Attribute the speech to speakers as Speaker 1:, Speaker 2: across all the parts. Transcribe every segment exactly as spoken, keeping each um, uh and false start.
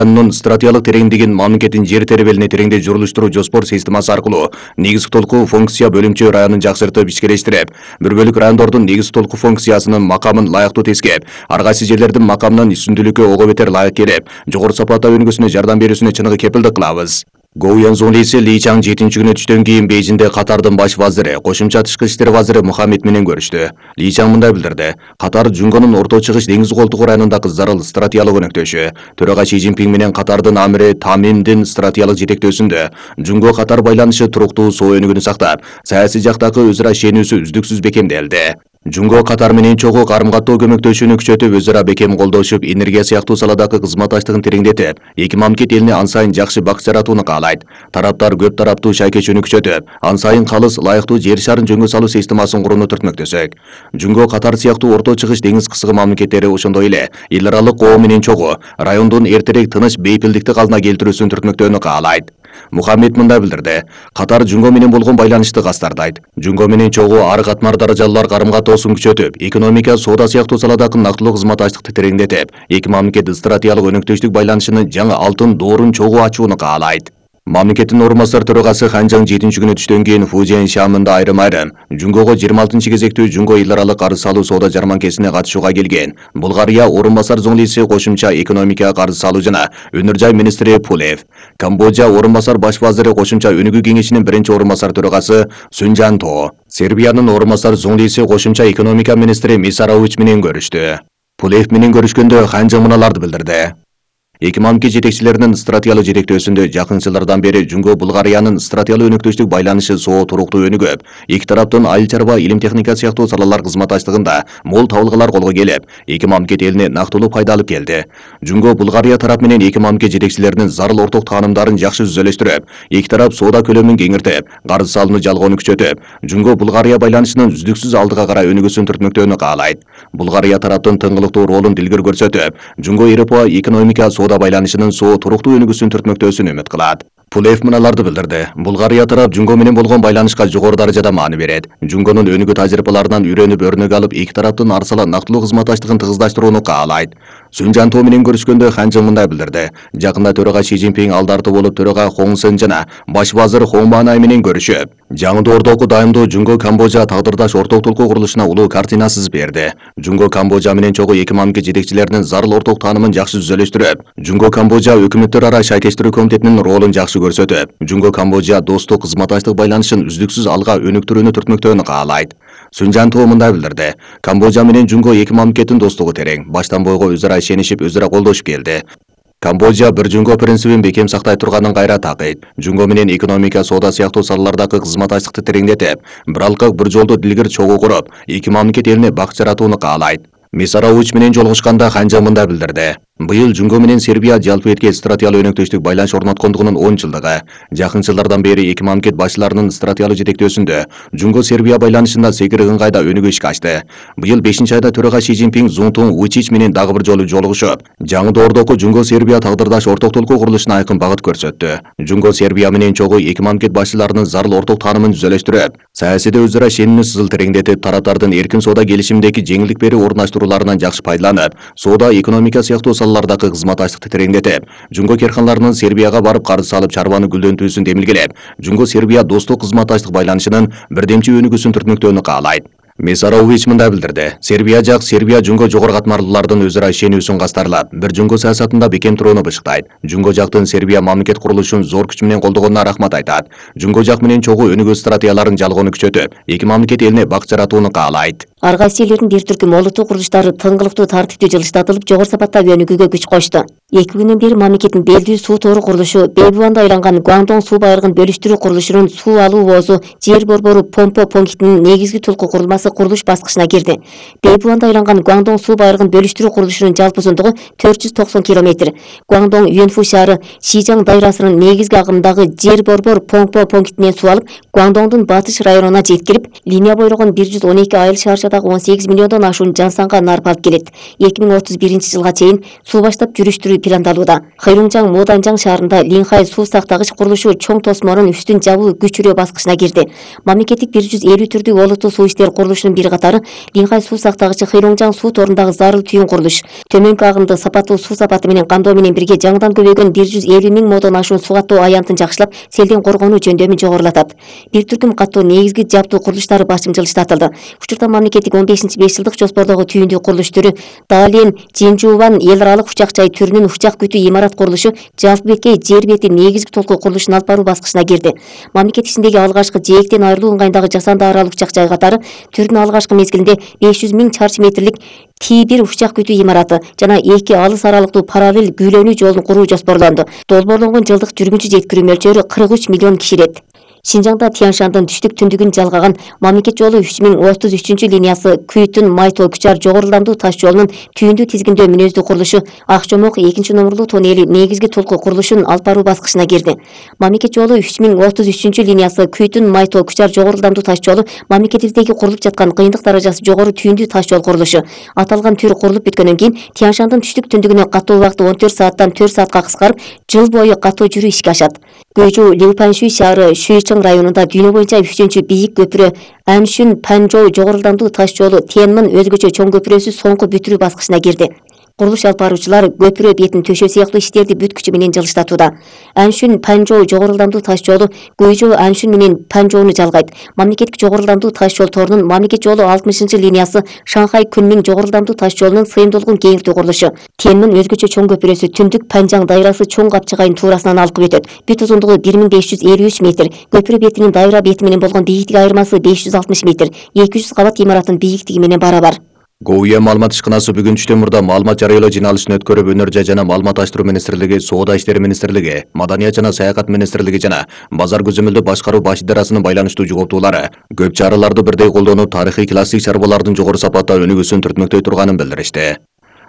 Speaker 1: Анын стратегиялык тереңдигин мамлекеттин жер теребелине тереңде журулуштуруу жоспор системасы аркылуу негизги толку функция бөлүмчө районун жакшыртып ишкерлештирип, бир бөлүк райондордун негизги толку функциясынын макамын лайыктуу тескеп, ар кайсы жерлердин макамынан үстүндүүлүккө ого бетер лайык келип, жогору сапатта өнүгүүсүнө жардам берүүсүнө чыныгы кепилдик кылабыз. Гоуянзун лиси Ли Чаң жетинчи күнү түштөн кийин Бейжиңде Катардын баш вазири, кошумча тышкы иштер вазири Мухаммед менен көрүштү. Ли Чаң мындай билдирди: Катар Жунгонун Орто Чыгыш деңиз колтугу районундагы зарыл стратегиялык өнөктөшү. Төрага Си Цзиньпин менен Катардын амири Тамимдин стратегиялык жетектөөсүндө Жунго Катар байланышы туруктуу соо өнүгүүнү сактап, саясий жактагы өз ара ишенүүсү үздүксүз бекемделди. Жунго Катар менен чогуу карым-каттоо көмөктөшүүнү күчөтүп, өз ара бекем колдошуп, энергия сыяктуу саладагы кызматташтыгын тереңдетип, эки мамлекет элине ан сайын жакшы бак жаратууну каалайт. Тараптар көп тараптуу шайкечүүнү күчөтүп, ан сайын калыс, лайыктуу жер шарын жөнгө салуу системасын курууну түртмөктөсөк. Жунго Катар сыяктуу Орто Чыгыш деңиз кысыгы мамлекеттери ошондой эле эл аралык коом менен чогуу райондун эртерээк тыныч бейпилдикти калыбына келтирүүсүн түртмөктөөнү каалайт. Мухаммед мындай билдирди: Катар Жунго менен болгон байланышты кастардайт. Жунго менен чогуу ар катмар даражалуулар карым-каттоосун күчөтүп, экономика, соода сыяктуу саладагы нактылуу кызматташтыкты тереңдетип, эки мамлекет стратегиялык өнөктөштүк байланышынын жаңы алтын доорун чогуу ачууну каалайт. Мамлекеттин орун басар төрагасы Хан Жаң жетинчи күнү түштөн кийин Фужиан шаамында айрым-айрым Жунгого жыйырма алтынчы кезектүү Жунго эл аралык карыз салуу соода жарманкесине катышууга келген Булгария орун басар зоңлиси кошумча экономика, карыз салуу жана өнөр жай министри Пулев, Камбоджа орун басар баш вазири кошумча өнүгүү кеңешинин биринчи орун басар төрагасы Сунжанто, Сербиянын орун басар зоңлиси кошумча экономика министри Мисарович менен көрүштү. Пулев менен көрүшкөндө Хан Жаң мыналарды билдирди: Эки мамлекет жетекчилеринин стратегиялык жетектөөсүндө жакын жылдардан бери Жунго Булгариянын стратегиялык өнөктөштүк байланышы соо туруктуу өнүгүп, эки тараптын айыл чарба, илим техника сыяктуу салалар кызматташтыгында мол табылгалар колго келип, эки мамлекет элине нактылуу пайда алып келди. Жунго Булгария тарап менен эки мамлекет жетекчилеринин зарыл орток таанымдарын жакшы түзөлөштүрүп, эки тарап соода көлөмүн кеңиртип, карыз салууну жалгоону күчөтүп, Жунго Булгария байланышынын үздүксүз алдыга карай өнүгүүсүн түртмөктөөнү каалайт. Булгария тараптын тыңгылыктуу ролун дилгер көрсөтүп, Жунго Европа экономика соода байланышынын соо туруктуу өнүгүүсүн түртмөктөөсүн үмүт кылат. Пулев мыналарды билдирди: Булгария тарап Жунго менен болгон байланышка жогору даражада маани берет. Жунгонун өнүгүү тажрыйбаларынан үйрөнүп өрнөк алып, эки тараптын арсала нактылуу кызматташтыгын тыгыздашырууну каалайт. Сунжанто менен көрүшкөндө Хан Жаң мындай билдирди: Жакында төрага Си Цзиньпин алдарты болуп, төрага Хong Сен жана баш вазир Хong Манай менен көрүшүп, жаңы доордогу дайымдуу Жунго Камбоджа тагдырдаш орток толку курулушуна улуу картина сызып берди. Жунго Камбоджа менен чогуу эки мамлекет жетекчилеринин зарыл орток таанымын жакшы түзөлөштүрүп, Жунго Камбоджа өкмөттөр ара шайкештирүү комитетинин ролун жакшы көрсөтүп, Жунго Камбоджа достук кызматташтык байланышын үздүксүз алга өнүктүрүүнү түртмөктөөнү каалайт. Сунжанто мындай билдирди: Камбоджа менен Жунго эки мамлекеттин достугу терең, баштан бойго өз ара ишенишип, өз ара колдошуп келди. Камбоджа бир Жунго принцибин бекем сактай турганын кайра такыйт. Жунго менен экономика, соода сыяктуу салалардагы кызматташтыкты тереңдетип, бир алкак бир жолду дилгер чогуу куруп, эки мамлекет элине бак жаратууну каалайт. Мисарович менен жолугушканда Хан Жаң мындай билдирди: Быйыл Жунго менен Сербия жалпы эрке стратегиялык өнөктөштүк байланыш орноткондугунун он жылдыгы. Жакын жылдардан бери эки мамлекет башчыларынын стратегиялык жетектөөсүндө Жунго Сербия байланышында секир ыңгайда өнүгүү ишке ачты. Быйыл бешинчи айда төрага Си Цзиньпин Зунтун Вучич менен дагы бир жолу жолугушуп, жаңы доордогу Жунго Сербия тагдырдаш орток толку курулушуна айкын багыт көрсөттү. Жунго Сербия менен чогуу эки мамлекет башчыларынын зарыл орток таанымын түзөлөштүрүп, саясийде өз ара ишенимди сызыл тереңдетип, тараптардын эркин соода келишиминдеги жеңилдик берүү орнуштурууларынан жакшы пайдаланып, соода, экономика сыяктуу салалардагы кызматташтыкты тереңдетип, Жунго керканларынын Сербияга барып карыз салып чарбаны гүлдөнтүүсүн демилгелеп, Жунго Сербия достук кызматташтык байланышынын бирдемчи өнүгүүсүн түртмөктөөнү каалайт. Мисарович мындай билдирди: Сербия жак Сербия Жунго жогору катмарлуулардын өз ара ишенүүсүн кастарлап, бир Жунго саясатында бекем турууну бышыктайт. Жунго жактын Сербия мамлекет курулушун зор күч менен колдогонуна рахмат айтат. Жунго жак менен чогуу өнүгүү стратегияларын жалгоону күчөтүп, эки мамлекет элине бак жаратууну каалайт.
Speaker 2: Ар кайсы элдердин бир түркүм олуттуу курулуштары тыңгылыктуу тартиптүү жылыштатылып, жогору сапаттагы өнүгүүгө күч кошту. Эки күндөн бери мамлекеттин белдүү суу тору курулушу, Бэйбуанда айланган Гуандong суу байырыгын бөлүштүрүү курулушунун суу алуу воозу жер борбору помпа пунктинин негизги толку курулмасы курулуш баскычына кирди. Бэйбуанда айланган Гуандong суу байырыгын бөлүштүрүү курулушунун жалпы узундугу төрт жүз токсон километр. Гуандong Юэнфу шаары Шижаң дайрасынын негизги агымдагы жер борбор помпа пунктинен суу алып, Гуандоңдун батыш районуна жеткирип, линия бойлогон бир жүз он эки айыл шаарчадагы он сегиз миллиондон ашуун жан санга нарп алып келет. эки миң отуз биринчи жылга чейин суу баштап жүрүштүрүү пландалууда. Хайруңжаң Моданжаң шаарында Линхай суу сактагыч курулушу чоң тосмонун үстүн жабуу күчүрөө баскычына кирди. Мамлекеттик бир жүз элүү түрдүү олуттуу суу иштер курулушунун бир катары Линхай суу сактагычы Хайруңжаң суу торундагы зарыл түйүн курулуш. Төмөнкү агымды сапаттуу суу сапаты менен кандоо менен бирге жаңыдан көбөйгөн бир жүз элүү миң модон ашуун суу каттоо аянтын жакшылап, селден коргонуу жөндөмүн жогорулатат. Бир түркүм каттоо негизги жаптуу курулуштары башым жылыштатылды. Учурда мамлекеттик он бешинчи беш жылдык жоспордогу түйүндүү курулуш түрү Дален Жинжуубан эл аралык учак жай түрүнүн учак күтүү имарат курулушу жалпы беткей жер бети негизги толкуу курулушун алып баруу баскычына кирди. Мамлекет ичиндеги алгачкы жээктен айрылуу ыңгайындагы жасанды аралык учак жай катары түрдүн алгачкы мезгилинде беш жүз миң чарчы метрлик Ти бир учак күтүү имараты жана эки алыс аралыктуу параллель күйлөнүү жолун куруу жоспорлонду. Долбоорлонгон жылдык жүргүнчү жеткирүү мөлчөрү кырк үч миллион киширет. Шинжаңда Тяншандын түштүк түндүгүн жалгаган мамлекет жолу үч миң отуз үчүнчү линиясы Күйтүн Майтоо Күчар жогоруландуу таш жолунун түйүндүү тизгиндөө мүнөздүү курулушу Акчомок экинчи номерлуу тоннели негизги толкуу курулушун алып баруу баскычына кирди. Мамлекет жолу үч миң отуз үчүнчү линиясы Күйтүн Майтоо Күчар жогоруландуу таш жолу мамлекетибиздеги курулуп жаткан кыйындык даражасы жогору түйүндүү таш жол курулушу. Аталган түр курулуп бүткөндөн кийин Тяншандын түштүк түндүгүнө каттоо убакыты он төрт сааттан төрт саатка кыскарып, жыл бою каттоо жүрүү ишке ашат. Көйжүү Лилпаншуй шаары Шуйчың районунда дүйнө боюнча үчүнчү бийик көпүрө Аншүн Панжоу жогоруландуу таш жолу Тенмин өзгөчө чоң көпүрөсү соңку бүтүрүү баскычына кирди. Курулуш алып баруучулар көпүрө бетин төшөө сыяктуу иштерди бүткүчү менен жылыштатууда. Аншүн Панжоу жогоруландуу таш жолу Көйжөө Аншүн менен Панжоону жалгайт. Мамлекеттик жогоруландуу таш жол торунун мамлекет жолу алтымышынчы линиясы Шанхай Күнмиң жогоруландуу таш жолунун сыйымдуулугун кеңиртүү курулушу. Тенмин өзгөчө чоң көпүрөсү түндүк Панжаң дайрасы чоң капчыгайын туурасынан алкып өтөт. Бүт узундугу бир миң беш жүз элүү үч метр. Көпүрө бетинин дайра бети менен болгон бийиктик айырмасы беш жүз алтымыш метр. эки жүз кабат имараттын бийиктиги менен барабар.
Speaker 1: ГОУЯ маалымат ишканасы бүгүн түштөн мурда маалымат жарыялоо жыйналышын өткөрүп, өнөр жай жана маалыматташтыруу министрлиги, Соода иштери министрлиги, Маданият жана саякат министрлиги жана базар көзөмөлдү башкаруу баш идарасынын байланыштуу жоголтуулары көп чараларды бирдей колдонуп, тарыхый классик чарбалардын жогору сапатта өнүгүүсүн түртмөктөй турганын билдиришти.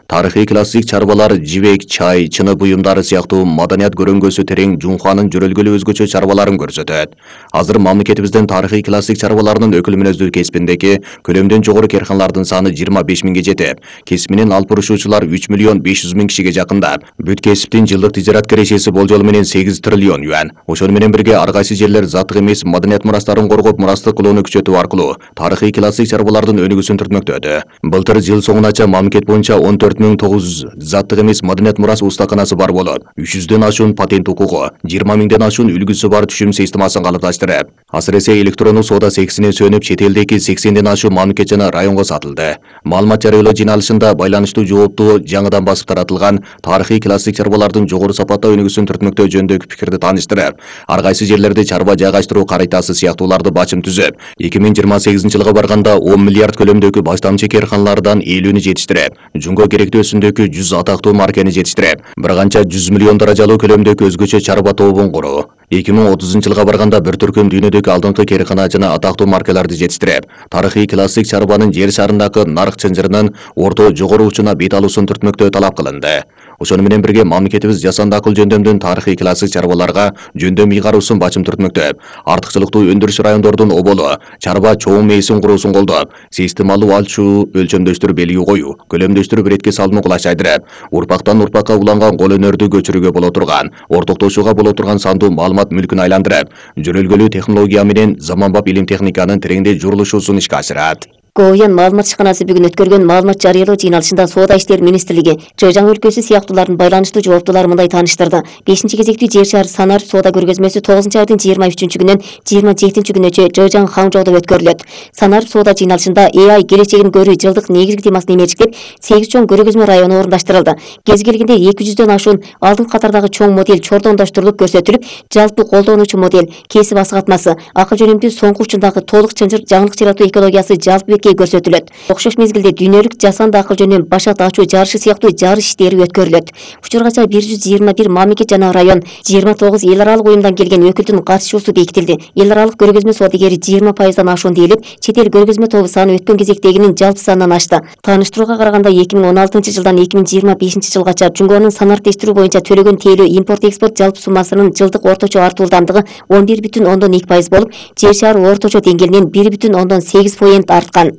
Speaker 1: Тарыхый классик чарбалар жибек, чай, чыны буюмдары сыяктуу маданият көрөңгөсү терең Жунханын жөрөлгөлүү өзгөчө чарбаларын көрсөтөт. Азыр мамлекетибиздин тарыхый классик чарбаларынын өкүл мүнөздүү кесибиндеги көлөмдөн жогору керканалардын саны жыйырма беш миңге жетип, кесип менен алып бурушуучулар үч миллион беш жүз миң кишиге жакындап, бүт кесиптин жылдык тижарат кирешеси болжолу менен сегиз триллион юан. Ошону менен бирге ар кайсы жерлер заттык эмес маданият мурастарын коргоп, мурастык кылууну күчөтүү аркылуу тарыхый классик чарбалардын өнүгүүсүн түртмөктөдө. Былтыр жыл соңунача мамлекет боюнча он төрт миң тогуз жүз заттык эмес маданият мурас устаканасы бар болуп, үч жүздөн ашуун патент укугу, жыйырма миңден ашуун үлгүсү бар түшүм системасын калыпташтырып, асыресе электрондук соода сексине сөнүп, чет элдеги сексенден ашуун мамлекет жана районго сатылды. Маалымат жарыялоо жыйналышында байланыштуу жооптуу жаңыдан басып таратылган тарыхый классик чарбалардын жогору сапатта өнүгүүсүн түртмөктөө жөнүндөгү пикирди тааныштырып, ар кайсы жерлерде чарба жайгаштыруу карайтасы сыяктууларды бачым түзүп, эки миң жыйырма сегизинчи жылга барганда он миллиард көлөмдөгү баштамчы керканалардан элүүнү жетиштирип, жунго керектүү өсүмдөгү жүз атактуу маркени жетиштирип, бир канча жүз миллион даражалуу көлөмдөгү өзгөчө чарба тобун куруу. эки миң отузунчу жылга барганда бир түркүм дүйнөдөгү алдыңкы керкана жана атактуу маркаларды жетиштирип, тарыхый классик чарбанын жер шарындагы нарк чынжырынын орто жогору учуна бет алуусун түртмөктөө талап кылынды. Ошону менен бирге мамлекетибиз жасанды акыл жөндөмдүн тарыхый классик чарбаларга жөндөм ыйгаруусун бачым түртмөктөп, артыкчылыктуу өндүрүш райондордун оболу чарба чоң мейсин куруусун колдоп, системалуу алчуу өлчөмдөштүр белги коюу, көлөмдөштүр иретке салууну кулаш айдырып, урпактан урпакка уланган кол өнөрдү көчүрүүгө боло турган, ортоктошууга боло турган сандуу маалымат мүлкүн айландырып, жөрөлгөлүү технология менен заманбап илим техниканын тереңдей журулушуусун ишке ашырат.
Speaker 2: ГОУЯн маалымат ишканасы бүгүн өткөргөн маалымат жарыялоо жыйналышында Соода иштери министрлиги Жыжаң өлкөсү сыяктуулардын байланыштуу жооптуулары мындай тааныштырды. бешинчи кезектүү жер шаар Санар соода көргөзмөсү тогузунчу айдын жыйырма үчүнчү күнүнөн жыйырма жетинчи күнүнчө Жыжаң Хаңжоодо өткөрүлөт. Санар соода жыйналышында Э Ай келечегин көрүү жылдык негизги темасын эмечектеп, сегиз чоң көргөзмө району орундаштырылды. Кез келгенде эки жүздөн ашуун алдыңкы катардагы чоң модель чордондоштурулуп көрсөтүлүп, жалпы колдонуучу модель, кесип асыгатмасы, акыл жөнүмдүү соңку учундагы толук чынжыр жаңылык жаратуу экологиясы жалпы көрсөтүлөт. Окшош мезгилде дүйнөлүк жасанды акыл жөнүндө башат ачуу жарышы сыяктуу жарыш иштери өткөрүлөт. Учургача бир жүз жыйырма бир мамлекет жана район, жыйырма тогуз эл аралык уюмдан келген өкүлдүн катышуусу бекитилди. Эл аралык көргөзмө саудагери жыйырма пайыздан ашуун дейилип, чет эл көргөзмө тобу саны өткөн кезектегинин жалпы санынан ашты. Тааныштырууга караганда эки миң он алтынчы жылдан эки миң жыйырма бешинчи жылгача Жунгонун санариктештирүү боюнча төлөгөн тейлөө импорт-экспорт жалпы суммасынын жылдык орточо артуулдамдыгы он бир бүтүн ондон эки пайыз болуп, жер шаар орточо деңгээлинен бир бүтүн ондон сегиз процент арткан.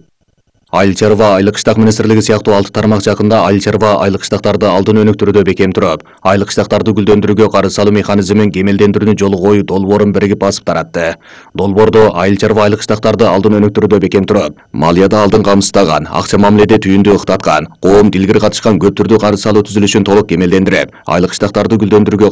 Speaker 1: Айыл чарба айлык кыштак министрлиги сыяктуу алты тармак жакында айыл чарба айлык кыштактарды алдын өнүктүрүүдө бекем туруп, айлык кыштактарды гүлдөндүрүүгө карыз салуу механизмин кемелдендирүүнү жолу коюу долбоорун биригип басып таратты. Долбоордо айыл чарба айлык кыштактарды алдын өнүктүрүүдө бекем туруп, малыяда алдын камсыздаган, акча мамиледе түйүндү ыктаткан, коом дилгири катышкан көп түрдүү карыз салуу түзүлүшүн толук кемелдендирип, айлык кыштактарды гүлдөндүрүүгө